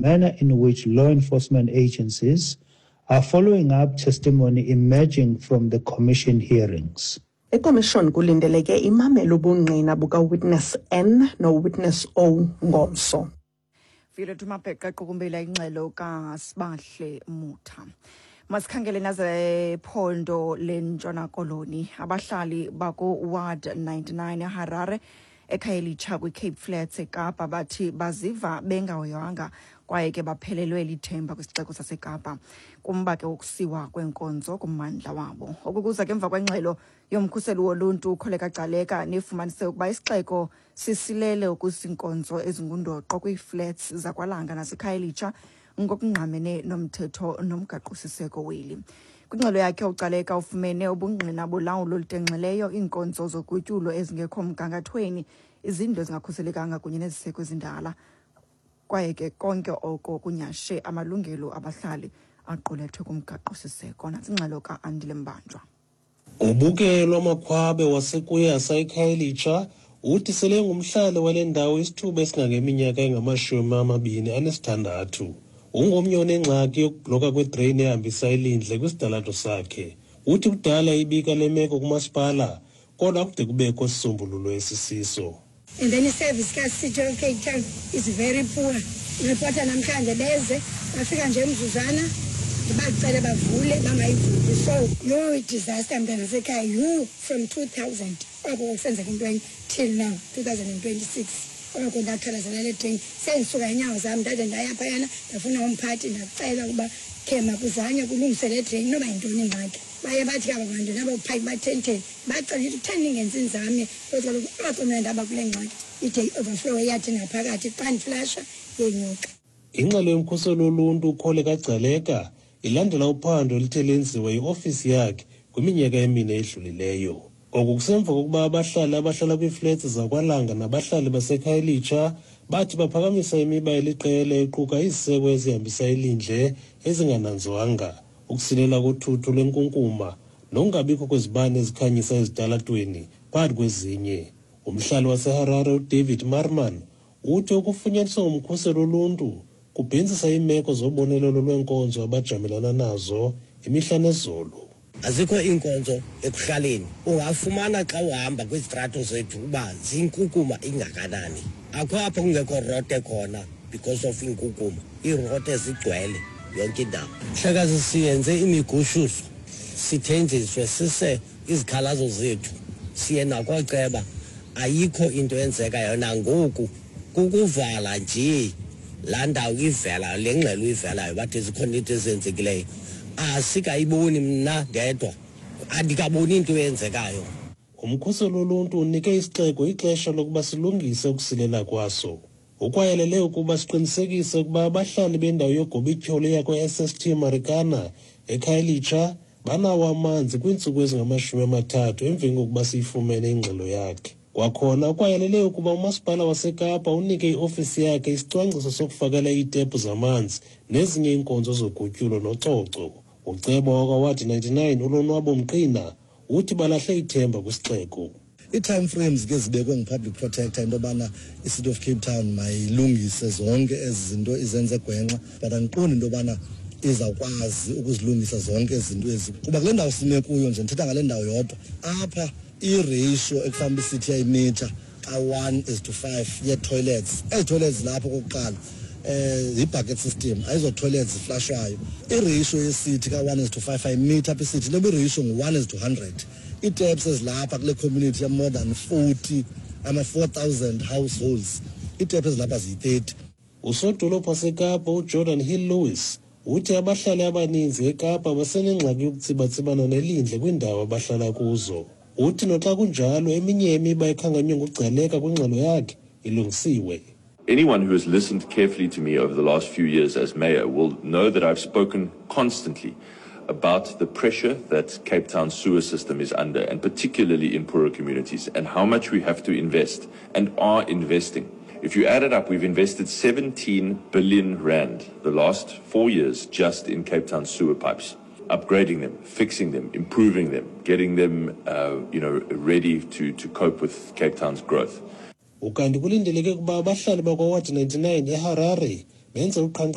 Manner in which law enforcement agencies are following up testimony emerging from the commission hearings. Ikomishoni kulindeleke imamele ubungqina bukaWitness N noWitness O ngomso. Violet Mabheqa equkumbela ingxelo kaSibahle Mutha. Masikhangele nazephondo leNtshona Koloni. Abahlali baku-Ward 99 eHarare eKhayelitsha kwiCape Flats eKapa bathi baziva bengahoywanga kwaye ke baphelelwe lithemba kwisixeko saseKapa kumba ke wokusiwa kweenkonzo kummandla wabo. Oku kuza ke emva kwengxelo yomkhuseli woluntu uKholeka Gcaleka nefumanise ukuba isixeko sisilele ukusa iinkonzo ezingundoqo kwiiflats zakwaLanga naseKhayelitsha ngokungqamene nomthetho nomgaqosiseko weli. Kwingxelo yakhe uGcaleka ufumene ubungqina bolawulo olutenxileyo, iinkonzo zogutyulo ezingekho mgangathweni, izindlu ezingakhuselekanga kunye neziseko ezindala kwaye ke konke oko kunyhashe amalungelo abahlali aqulethwe kumgaqosiseko. Nantsi ingxelo ka-Andile Mbanjwa. Ubukelo Amakhwabe waseKuyasa eKhayelitsha uthi sele engumhlali wale ndawo isithuba esingangeminyaka engamashumi 26. Ungomnye onengxaki yokubhloka kwedreyini ehambisa ilindle kwisidalato sakhe. Uthi kudala ibika le meko kumasipala kodwa akude kubekho sisombululo esisiso. And then i-service ka-City of Cape Town is very poor. Ripota namhlanje beze bafika nje emzuzwana ndibacele bavule bangayivuli. So yho i-disaster mntana sekhaya yho from 2000 oko kusenzeka into enye till now 2026 oko ndakhalazela le drain sendisuka iinyawo zam ndade ndaya phayana ndafuna umphathi ndacela ukuba khe makuzanywe kulungiswe le drain noba yintoni ingxaki. Baye bathi ke aba bantu nabo phaya batheni bacela ukuthi kutheni ningenzi inzame kodwa kaloku oko mna ndaba kule ngxaki ide i-overflow eyathi ngaphakathi xa ndiflasha yenyuka. Ingxelo yomkhuseli woluntu uKholeka Gcaleka ilandela uphando oluthe lenziwa yiofisi yakhe kwiminyaka emine edlulileyo. Oku kusemva kokuba abahlali abahlala kwiiflats zakwaLanga nabahlali baseKhayelitsha bathi baphakamisa imiba eliqela equka iziseko ezihambisa ilindle ezingananzwanga, ukusilela kothutho lwenkunkuma nokungabikho kwezibane ezikhanyisa ezitalatweni phakathi kwezinye. Umhlali waseHarare uDavid Marman uthi ukufunyaniswa ngumkhuseli woluntu kubhentsisa iimeko zobonelelo lweenkonzo abajamelana nazo imihla nezolo. Azikho iinkonzo ekuhlaleni. Ungafumana xa uhamba kwizitrato zethu uba zinkukuma ingakanani. Akho apho kungekho rote khona because of inkukuma. Iirote zigcwele yonke indawo. Mhlekazi siyenze imigushuzo, sithenjiswe sise izikhalazo zethu, siye nakooceba, ayikho into eyenzekayo nangoku. Kukuvala nje laa ndawo ivela le ngxelo ivelayo bathi zikhona into ezenzekileyo. Asikayiboni mna ndedwa, andikaboni into eyenzekayo. Umkhuseli woluntu unike isixeko ixesha lokuba silungise ukusilela kwaso. Ukwayalele ukuba siqinisekise ukuba abahlali bendawo yogobityholo yakwa-SST Marikana eKhayelitsha banawo amanzi kwiintsuku ezingamashumi amathathu emveni kokuba siyifumene ingxelo yakhe. Kwakhona ukwayalele ukuba umasipala waseKapa unike iofisi yakhe isicwangciso sokufakela iitepu zamanzi nezinye iinkonzo zogutyulo nococo. Uceba wakwaWadi 99 uLonwabo Mqina uthi balahle ithemba kwisixeko. Ii-time frames ke zibekwe ngu-public protector into yobana i-City of Cape Town mayilungise zonke ezi zinto izenze gwenxa, but andiqondi into yobana izawukwazi ukuzilungisa zonke ezi zinto ezi, kuba kule ndawo sime kuyo nje, ndithetha ngale ndawo yodwa apha, i-ratio ekufanele uba isithi yayimitha ka-1 is to 5 yee-toilets. Ezi toilets zilapho okokuqala yi-bucket system, ayizo-toilets ziflashwayo. I-ratio yesithi ka-1 is to 5 ayimitha apha isithi, inoba i-ratio ngu-1 is to 100. Ii-taps ezilapha kule community ya more than 40, ama-4,000 households, ii-taps ezilapha ziyi-30. Usodolophu waseKapa uGeordin Hill-Lewis uthi abahlali abaninzi eKapa basenengxaki yokutsibatsibana nelindle kwiindawo abahlala kuzo. Uthi noxa kunjalo eminye imiba ekhankanywe nguGcaleka kwingxelo yakhe ilungisiwe. Anyone who has listened carefully to me over the last few years as mayor will know that I've spoken constantly about the pressure that Cape Town's sewer system is under, and particularly in poorer communities, and how much we have to invest and are investing. If you add it up, we've invested 17 billion rand the last 4 years just in Cape Town sewer pipes, upgrading them, fixing them, improving them, getting them ready to cope with Cape Town's growth. Ukanti kulindeleke ukuba abahlali bakwaWard 99 eHarare Benze uqhankqalazo.